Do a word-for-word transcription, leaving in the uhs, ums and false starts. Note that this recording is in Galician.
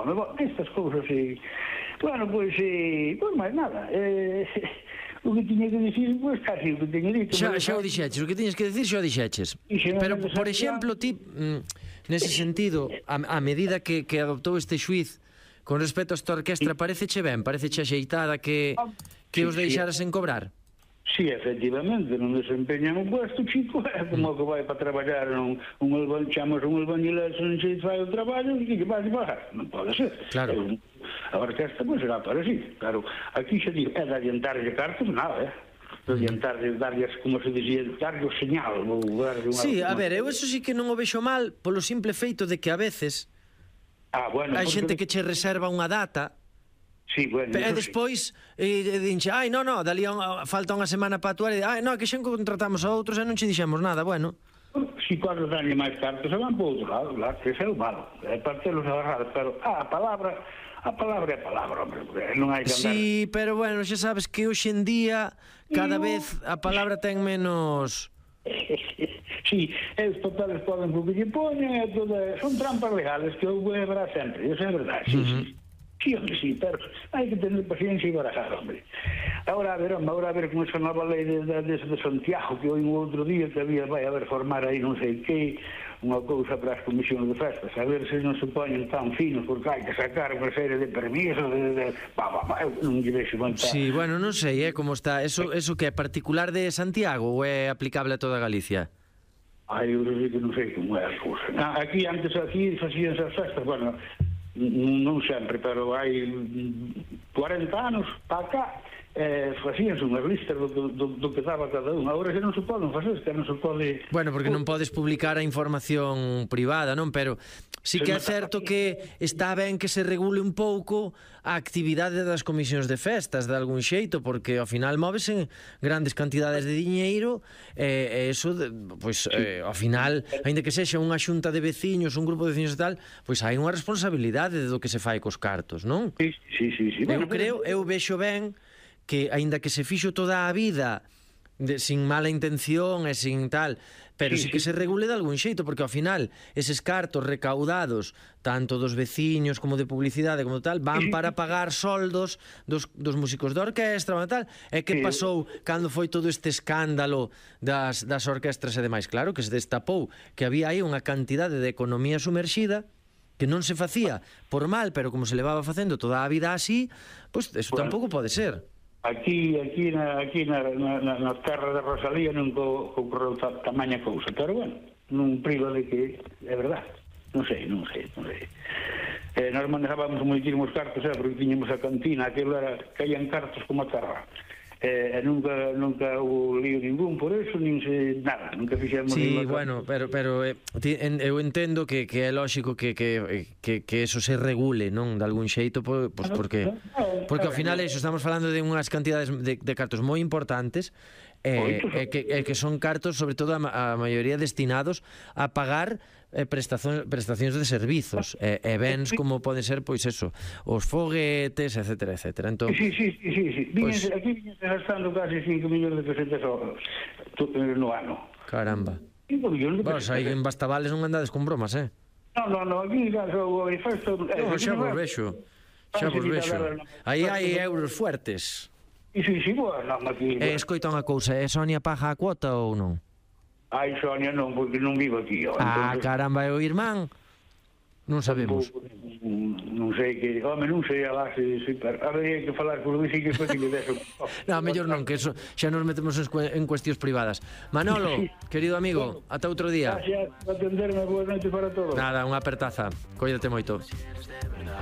home, bueno, estas cousas, e... Bueno, pois, e... Pois máis nada, eh... O que tiña que dicir, pois, casi o que tiña dito. Xa, xa o dixeches, o que tiñes que dicir xa o dixeches. Pero, por exemplo, ti, nese sentido, a, a medida que, que adoptou este xuiz con respecto a esta orquestra, pareceche ben, pareceche axeitada que, que os deixaras en cobrar? Sí, efectivamente, non desempeñan un puesto chico, é como que vai para traballar un, un albañil, chamas un albañileiro, non se fai o traballo, e que vai a pagar? Non pode ser. Claro. A orquesta, pois, será para sí. Claro, aquí xa digo, é de adiantarlle cartas, nada, eh? De adiantarlle, darlles, como se dicía, darlle o señal. Sí, a ver, eu eso sí que non o vexo mal, polo simple feito de que a veces ah, bueno, hai xente que che reserva unha data. Sí, bueno, e despois sí. e, dinche, ai, non, non, dali a, falta unha semana para actuar e, ai, non, que xa contratamos a outros e non che dixemos nada, bueno. Si cuando danlle máis cartas se van por outro lado, claro, que ese é o malo, é para telos agarrados, pero ah, a palabra, a palabra é a palabra, hombre, non hai que andar... Sí, pero bueno, xa sabes que hoxe en día cada no. vez a palabra ten menos... Sí, eles totales poden por que lle poñen, son trampas legales que houve habrá sempre, eso é verdade, sí, uh -huh. sí. Sí, hombre, sí, pero hai que tener paciencia e barajar, hombre. Agora, a ver, hombre, agora a ver con esa nova lei de, de, de Santiago, que hoy un outro día que había, vai a ver, formar aí non sei que, unha cousa para as comisións de festas, a ver se non se poñen tan finos, porque hai que sacar unha serie de permisos, de, de, ba, ba, ba, eu non lle vexo montar. Sí, bueno, non sei, eh, como está, eso, eso que é particular de Santiago ou é aplicable a toda Galicia? Ai, eu sei que non sei como é a cousa. Aquí, antes aquí, facíanse as festas, bueno, non sempre, pero hai cuarenta anos para cá eh, facíanse unhas listas do, do, do que daba cada un. Agora xa non se poden facer, que non se pode... Bueno, porque non podes publicar a información privada, non? Pero sí que é certo que está ben que se regule un pouco a actividade das comisións de festas de algún xeito, porque ao final móvese grandes cantidades de diñeiro e eh, eso, pois, eh, ao final, aínda que sexa unha xunta de veciños, un grupo de veciños e tal, pois hai unha responsabilidade do que se fai cos cartos, non? Sí, sí, sí, sí. Eu creo, eu vexo ben que, aínda que se fixo toda a vida de, sin mala intención e sin tal, pero sí, sí que sí. se regule de algún xeito, porque ao final eses cartos recaudados tanto dos veciños como de publicidade como tal, van para pagar soldos dos, dos músicos de orquestra e tal. E que pasou cando foi todo este escándalo das, das orquestras e demais? Claro que se destapou que había aí unha cantidade de economía sumerxida que non se facía por mal, pero como se levaba facendo toda a vida así, pois pues, eso bueno, tampouco pode ser. Aquí, aquí, na, aquí na, na, na terra de Rosalía non ocorreu tamaña cousa, pero bueno, non priva de que é verdade. Non sei, non sei, non sei. Eh, nós manejábamos moitísimos cartos, eh, porque tiñamos a cantina, aquilo era, caían cartos como a terra. Eh, nunca nunca houve lío ningún por eso, nin se nada, nunca fixemos sí, bueno, pero pero eh, en, eu entendo que, que é lógico que, que, que, que eso se regule, non, de algún xeito, pois pues porque porque ao final eso, estamos falando de unhas cantidades de, de cartos moi importantes e eh, eh, que, eh, que son cartos, sobre todo a, a maioría destinados a pagar eh, prestacións, prestacións de servizos e eh, eh, bens como poden ser, pois eso, os foguetes, etcétera, etcétera. Entón, sí, sí, sí, sí, sí. Pues, Víñense, aquí viñense gastando casi cinco millóns de pesetas no ano. Caramba. Bueno, aí en Bastavales non andades con bromas, eh? Non, non, non, aquí o manifesto... Non, xa vos vexo, xa vos vexo. Aí hai euros fuertes. Sí, sí, sí, bueno, aquí... E escoita unha cousa, é Sonia paga a cuota ou non? Ai, Sonia non, porque non vivo aquí. Ah, caramba, é o irmán? Non sabemos. Non sei que... Home, non sei a base... Habría que falar por Luis e que despois que me deso... Non, mellor non, que eso, xa nos metemos en cuestións privadas. Manolo, querido amigo, ata outro día. Gracias por atenderme, boa noite para todos. Nada, unha apertaza. Cóidate moito.